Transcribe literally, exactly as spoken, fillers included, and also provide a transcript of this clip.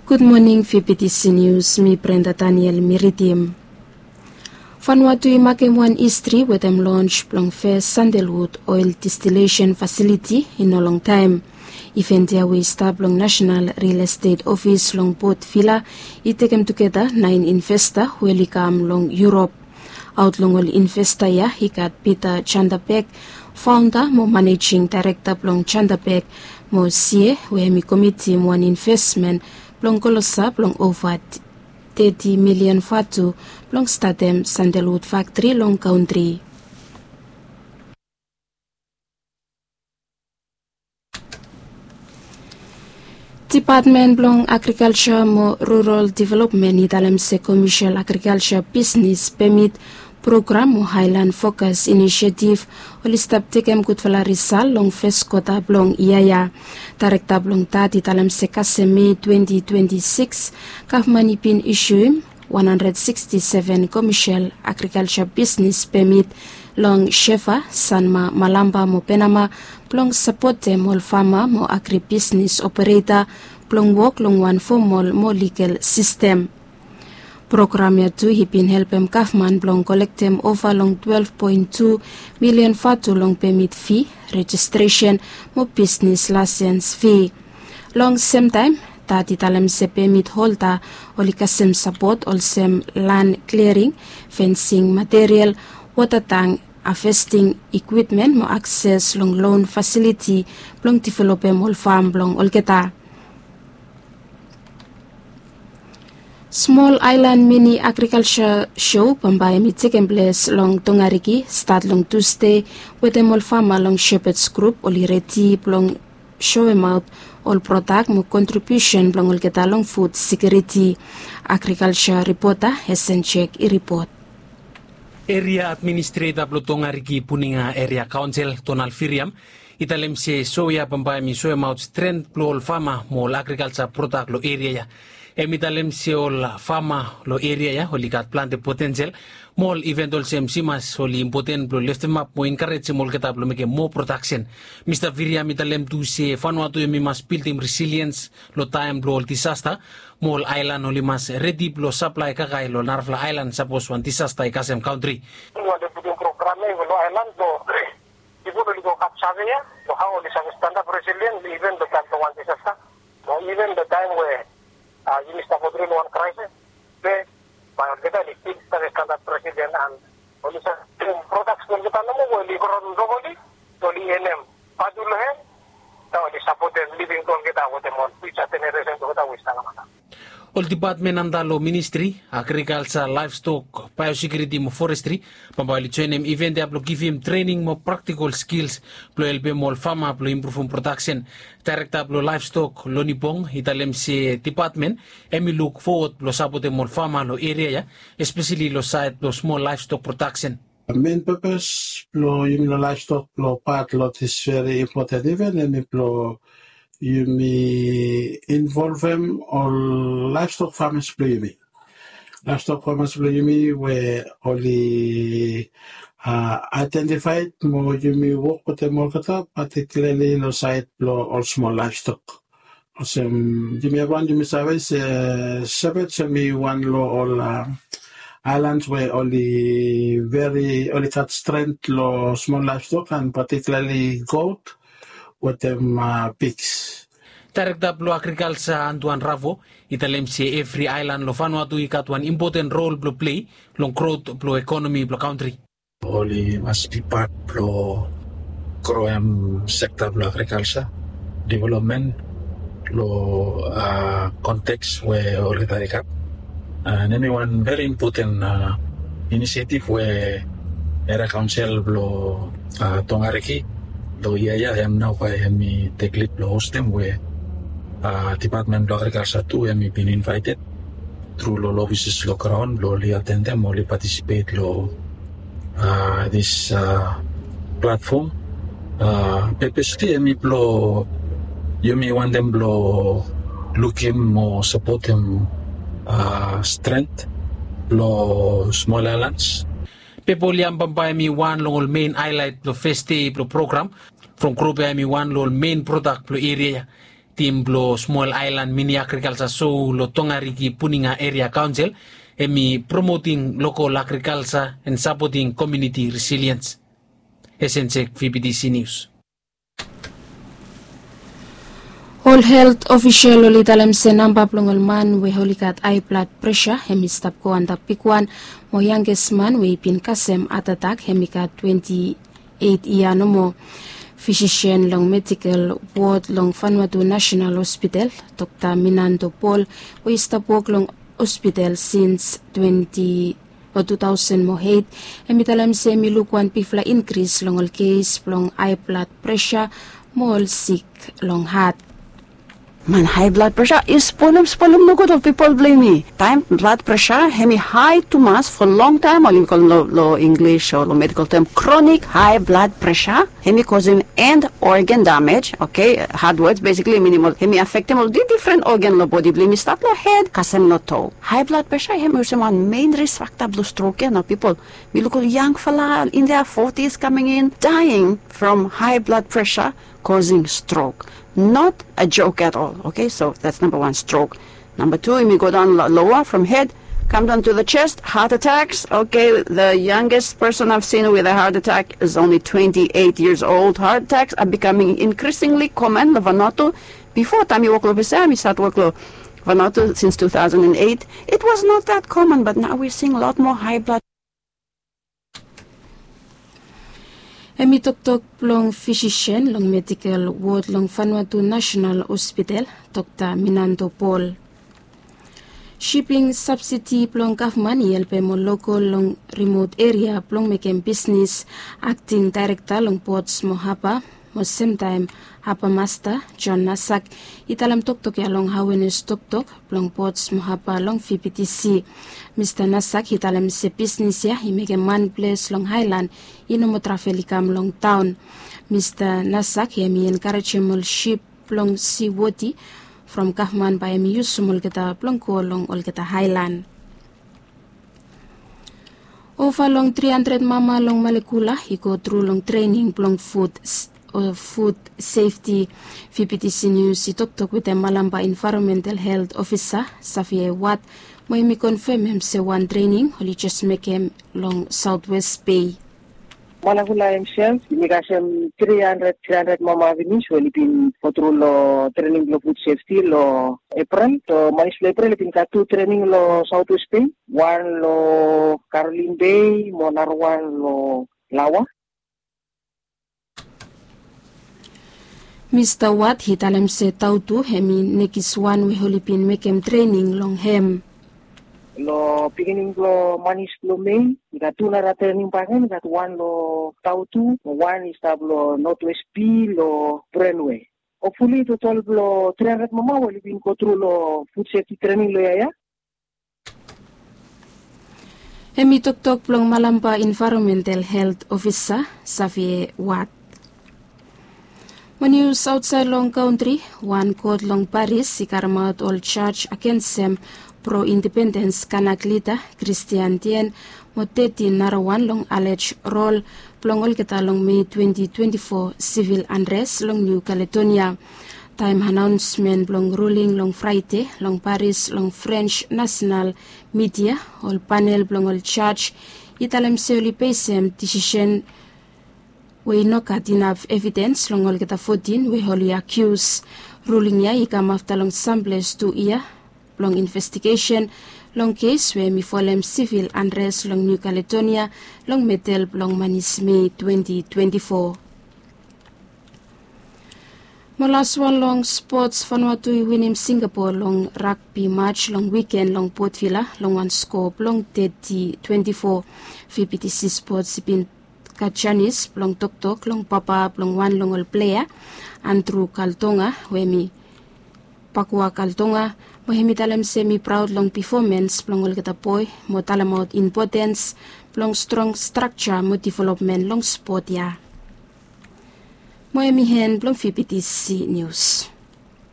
Gud moning, V B T C News, mi Brenda Daniel mi ridim. Vanuatu i makem wan histri wetem lons blong fes sandalwud oil distilesen fasiliti i no longtaem. Iven ya we i stap long Nasenal Riel Estet Ofis long Port Vila i tekem tugeta naen investa we oli kam long Yurop. Aot long ol investa ya i gat Peter Chanderbek, faonda mo manejing daerekta blong Chanderbek, mo Sie we hem i komitim wan investmen blong kolosa blong ova teti milian vatu blong statem sandalwud faktri long kantri. Dipatmen blong Agrikalja mo Rural Developmen i talem se komesel agrikalja bisnes pemit program mo Aelan Fokas Inisietif oli stap tekem gudfala risal long fes kwota blong yia ya. Daerekta blong dat i talem se kasem Me twenti twenti sikis, gavman i bin isiuim wan handred siksti seven komesel agrikalja bisnes pemit long Shefa, Sanma, Malampa mo Penama blong sapotem ol fama mo agribisnes opereta blong wok long wan fomol mo ligal sistem. Program ya tu i bin helpem gavman blong kolektem ova long twelef poen tu milian vatu long pemit fi, rejistresen mo bisnes laesens fi. Long semtaem, dat i talem se pemit holda oli kasem sapot olsem lan kliaring, fensing material, wota tang, havesting ikwipmen mo akses long lon fasiliti blong developem ol fam blong olgeta. Smol Aelan Mini Agrikalja Sou bambae hem i tekem ples long Tongariki stat long Tusde, wetem ol fama long Shepherds Group oli redi blong soemaot ol prodak mo kontribiusen blong olgeta long fud sekiuriti. Agrikalja ripota Hesen Jek i ripot. Eria administreta blong Tongariki Puninga Eria Kaonsel, Donald Viriam, i talem se sou ya bambae hem i soemaot stren blong ol fama mo ol agrikalja prodak long eria ya. Hem i talem se ol fama long eria ya oli gat plante potensel, mo ol iven olsem simas oli impoten blong leftemap mo enkarejem olgeta blong mekem moa prodaksen. Mista Viriam i talem tu se Vanuatu hem i mas bildim resiliens long taem blong ol disasta, mo ol aelan oli mas redi blong saplae kakae long narafala aelan sapos wan disasta i kasem kantri. Wantem putum program ya i go long aelan blong pipol oli go gat save ya long hao oli save stanap resilien iven long taem blong wan disasta, o iven long taem we yumi stap go tru long wan kraesis. Be bae olgeta oli stil save stanap resilien an oli save prodaks blong olgeta nomo we oli gro nogoli, oli enem vatu long hem, na oli sapotem living blong olgeta wetem ol fiuja jeneresen blong olgeta we i stap long antap. Ol dipatmen antap long ministri, agrikalja, laevstok, baeosekiuriti mo forestri, bambae oli joenem iven ya blong givim trening mo praktikol skils blong helpem ol fama blong impruvum prodaksen. Daerekta blong laevstok, Loni Bong, i talem se dipatmen hem i luk fowod blong sapotem ol fama long eria ya, espeseli long saed blong smol laevstok prodaksen. Men pepes blong yumi long laevstok blong pat long dis veri impoten iven hem i blong yumi involvem ol laevstok famas blong yumi. Laevstok famas blong yumi we oli aedentifaed mo yumi wok wetem olgeta, patikilarli long saed blong ol smol laevstok. Olsem yumi evriwan yumi save se Shepherds hem i wan long ol aelans we oli veri oli gat stren long smol laevstok an patikilarli got wetem pigs. Daerekta blong agrikalja Antuan Ravo i talem se evri aelan long Vanuatu i gat wan impoten rol blong plei long grot blong ekonomi blong kantri. Oli mas bi pat blong groem sekta blong agrikalja developmen long konteks we olgeta i gat. An hem i wan veri impoten inisietif we Eria Kaonsel blong Tongariki long yia ya hem nao bae hem i tek lid blong hostem we dipatmen blong agrikalja tu hem i bin invaeted tru long ol ofises long graon blong oli atendem oli patisipet long dis platfom. Pepes tu hem i blong yumi wantem blong lukim mo sapotem stren blong smol aelans. Pepe ol yam bambae hem i wan long ol men aelaet blong fes dei blong program. From grop ya hem i wan long ol men prodak blong eria ya. Tim blong smol aelan mini agrikalsa sou long Tongariki Puninga Eria Kaonsel hem i promoting lokol agrikalsa and sapoting komuniti resiliens. Esensek V B T C News. Ol helt ofisel oli talem se namba blong ol man we oli gat hae blad presa hem i stap go antap bigwan, mo yanges man we i bin kasem hatatak hem i gat twenti eit yia nomo. Fisisen long medikel wod long Vanuatu Nasenal Hospital, Dokta Minando Paul, we i stap wok long hospital sins twenti o tu taosen mo eit, hem i talem se hem i luk wan bigfala inkris long ol kes blong hae blad presa mo ol sik long hat. Man, hae blad presa i spolem spolem nogud ol pipol blong yumi. Taem blad presa hem i hae tumas fo longtaem, ol yumi kolem long Inglis o long medikel tem kronik hae blad presa, hem i kosem end organ damej, oke, hard words, besikli minim ol hem i afektem ol difren organ long bodi blong yumi, stat long hed kasem long to. Hae blad presa hem i olsem wan mein risk fakta blong strok ya nao pipol. Mi luk ol yangfala in their forties coming in, dying from high blood pressure causing stroke. Not a joke at all. Okay, so that's number one, stroke. Number two, yumi go daon loa from hed, kam daon to the chest, heart attacks. Okay, the youngest person I've seen with a heart attack is only twenty-eight years old. Heart attacks are becoming increasingly common long Vanuatu. Bifo taem mi wok long ofis ya, mi stat wok long Vanuatu since two thousand and eight, it was not that common, but now we're seeing a lot more high blood. Hem i toktok blong fisisen long medikel wod long Vanuatu Nasenal Hospital, Dokta Minando Paul. Siping sabsidi blong gavman i helpem ol lokol long rimot eria blong mekem bisnis. Akting daerekta long Pots mo Haba mo semtaem Haba Masta, John Nasak, i talem toktok ya long awenes toktok blong Pots mo Haba long V B T C. Mista Nasak i talem se bisnis ya i mekem man ples long aelan i no moa travel i kam long taon. Mista Nasak hem i enkarejem ol sip blong si woti from gavman bae hem i yusum olgeta blong go long olgeta aelan. Ova long tri handred mama long Malekula i go tru long trening blong fud o fud sefti. V B T C Nius i toktok wetem Malampa Envaeronmental Helt Ofisa, Savie Wat, mo hem i konfemem se wan trening oli jes mekem long Saotwes Bei. Malekula hemsef, yumi kasem tri handred, tri handred mama finis we oli bin go tru long trening blong fud sefti long Eprel. So manis blong Eprel i bin gat tu trening long Saotwes Bei, wan long Karolin Bei mo narawan long Laoa. Mista Wat i talem se Tautu hem i nekis wan we oli bin mekem trening long hem. Long pikinini blong manis blong Mei i gat tu nara trening bakegen, i gat wan long Tautu, wan i stap long Notwes Bei long Brenwe. Hopfuli totol blong tri handred mama we oli bin go tru long fud sefti trening long yia ya. Hem i toktok blong Malampa Envaeronmental Helt Ofisa, Savie Wat. Mo nius aotsaed long kantri, wan kot long Paris i karemaot ol jaj agensem pro-indipendens Kanak lida Kristian Tien mo teti narawan long alej rol blong olgeta long Mei twenti twenti fo sivil anres long Niu Kaledonia. Taem anaonsmen blong ruling long Fraede long Paris long Frens nasenal midia, ol panel blong ol jaj i talem se oli besem disisen we i no gat inaf evidens long olgeta fotin we oli akius. Ruling ya i kam afta long samples tu yia blong investigesen long kes we hem i folem sivil anres long Niu Kaledonia long medel blong manis Mei twenti twenti fo. Mo laswan long spots, Vanuatu i winim Singapore long ragbi maj long wiken long Port Vila long wan sko blong teti twenti fo. V B T C Spots i bin gat janis blong toktok long papa blong wan long ol plea, Andrew Kaltonga, we hem i Pakua Kaltonga, mo hem i talem se hem i praod long pefomens blong olgeta boe mo talemaot impotens blong strong strakja mo developmen long spot ya. Mo hem i en blong V B T C Nius.